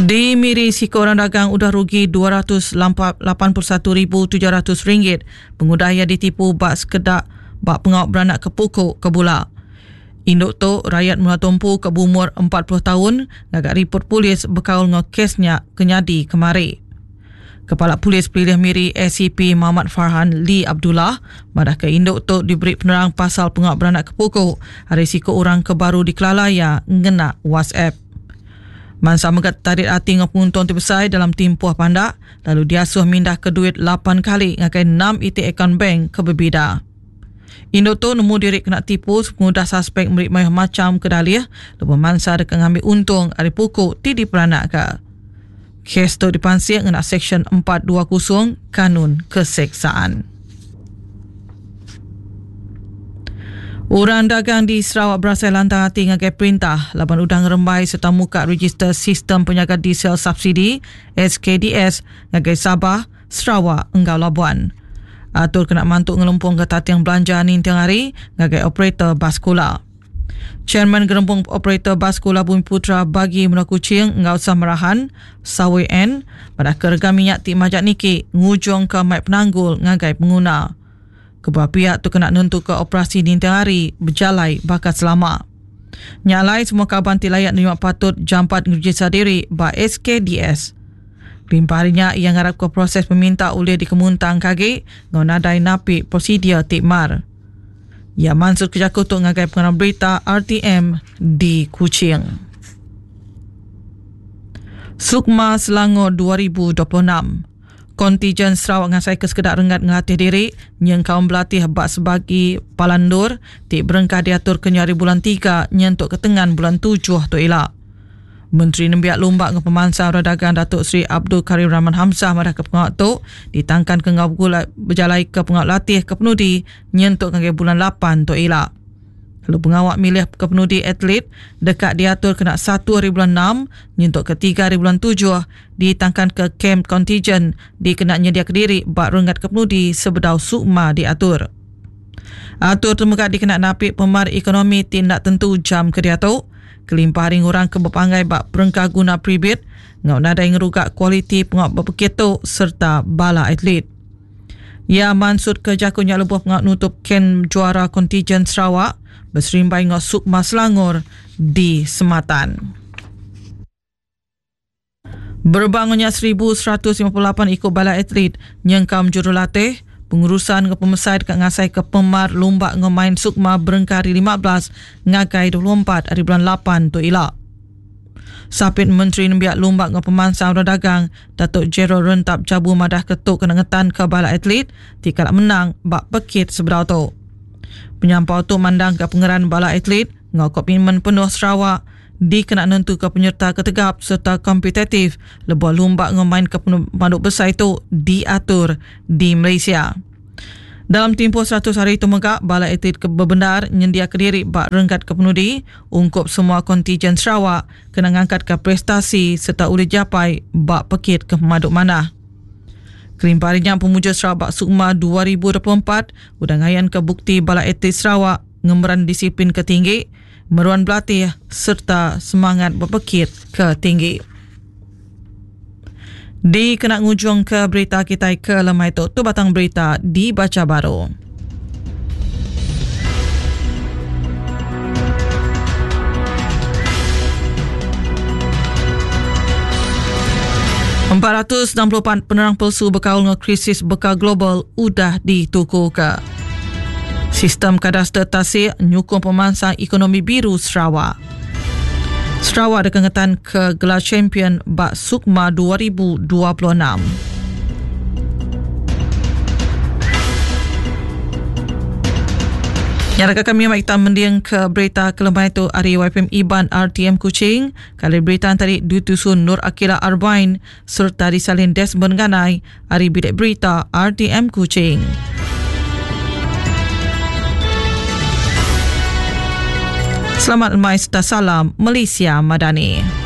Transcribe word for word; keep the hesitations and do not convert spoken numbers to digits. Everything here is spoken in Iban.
Di Miri, siku orang dagang udah rugi dua ratus lapan puluh satu ribu tujuh ratus ringgit pengudah ia ditipu bak sekedak bak pengawak beranak ke pukuk ke bula. Induk tu rakyat Menua Tumpu ke berumur empat puluh tahun ngagak report polis berkaul ngau kesnya kenyadi kemari. Kepala Polis Pelilih Miri A C P Muhammad Farhan Lee Abdullah madah ke induk tu diberi penerang pasal pengawak beranak ke pukuk hari siku orang ke baru dikelalaya ngena WhatsApp. Mansa megat tarik hati ngau penguntung terbesar dalam timpuh pandak lalu diasuh mindah ke duit lapan kali ngakai enam iti akaun bank ke berbeda. Induk tu nemu diri kena tipu sepengudah suspek meri mayuh macam kedalih lebuh mansa deka ngambil untung ari pukuk ti diperanak ke. Kes tu dipansik ngena Seksyen empat dua kosong Kanun Keseksaan. Orang dagang di Sarawak berasai lantang hati ngagai perintah laban udang ngerembai serta muka register sistem penyaga diesel subsidi S K D S ngagai Sabah, Sarawak enggau Labuan. Atur kena mantuk ngelempung ke tating belanja ninting hari ngagai operator bas sekolah. Chairman Gerempung Operator Bas Sekolah Bumi Putra bagi Menua Kuching enggau Samarahan, Sawi N, pada kerega minyak ti majak niki ngujung ke mai penanggul ngagai pengguna. Kebuah pihak tu kena nentu ke operasi ninting hari berjalai bakat selama. Nyalai semua kaban ti layak nerima patut jampat ngerejista diri ba S K D S. Limpahnya yang ngarap ke proses peminta oleh dikemuntang kagi ngau nadai napi prosedur tikmar. Ya Mansur Kejaku tu ngagai pengarang berita R T M di Kuching. Sukma Selangor dua ribu dua puluh enam. Kontijen Sarawak ngasai ke sekedak renggat ngelatih diri nyeng kaum berlatih bak sebagi palandur ti berengkah diatur ke nyari bulan tiga nyentuk ke tengan bulan tujuh tu elak. Menteri Nembiak Lumbak nge Pemansang Dagang Datuk Seri Abdul Karim Rahman Hamzah madah ke pengawak tu ditangkan ke ngau gula berjalai ke pengawak latih ke penudi nyentuk ke bulan lapan tu elak. Lalu pengawak milih ke penudi atlet dekat diatur kena satu hari bulan enam nyentuk ke tiga hari bulan tujuh ditangkan ke camp kontijen dikena nyedia kediri bak renggat ke penudi sebedau sukma diatur. Atur temegak dikena napik pemar ekonomi tindak tentu jam ke diatur. Kelimpah hari ngurang ke berpanggai bak perengkah guna pribit ngau nadai ngerugak kualiti pengawak berpekit tu serta bala atlet. Ya Mansud ke jakunya lebuh pengawak nutup ken juara kontijen Sarawak berserimbai ngau Sukma Selangor di Sematan. Berbangunnya seribu seratus lima puluh lapan ikut bala atlet nyengkam jurulatih pengurusan ke pemesai dekat ngasai ke pemar lumbak ngemain Sukma berengkah hari lima belas ngagai dua puluh empat hari bulan lapan tu elak. Sapit Menteri Nembiak Lumbak ngau Pemansang Orang Dagang Datuk Gerald Rentap Jabu madah ketuk kena ngetan ke bala atlet ti kalak menang bak pekit seberau tu. Penyampau tu mandang ke pengeran bala atlet ngau komitmen penuh Sarawak dikena nentu ke penyerta ketegap serta kompetitif lebuh lumbak ngemain ke pemandu besar itu diatur di Malaysia. Dalam tempoh seratus hari itu megak, bala atlet berbendar nyendia kediri bak renggat kepenudi ungkup semua kontijen Sarawak kena ngangkat ke prestasi serta boleh japai bak pekit ke pemaduk mana. Kelimpahnya pemuja Sarawak Sukma dua ribu dua puluh empat udah ngayan ke bukti bala atlet Sarawak ngemeran disiplin ketinggi, meruan berlatih serta semangat berpekit ke tinggi. Di kena ngujung ke berita kita ke lemai tu, tu batang berita dibaca baru. empat ratus enam puluh empat penerang palsu berkaul dengan krisis bekal global udah dituku ke. Sistem kadaster tasik nyukung pemansang ekonomi biru Sarawak. Sarawak ada kengetan ke gelar champion bak Sukma dua ribu dua puluh enam. Yang rakan kami yang kita mendiang ke berita kelemahan itu hari Y P M Iban R T M Kuching. Kali berita tadi ditusun Nur Akila Arbain serta disalin Desmond Ganai hari bilik berita R T M Kuching. Selamat lemai serta salam Malaysia Madani.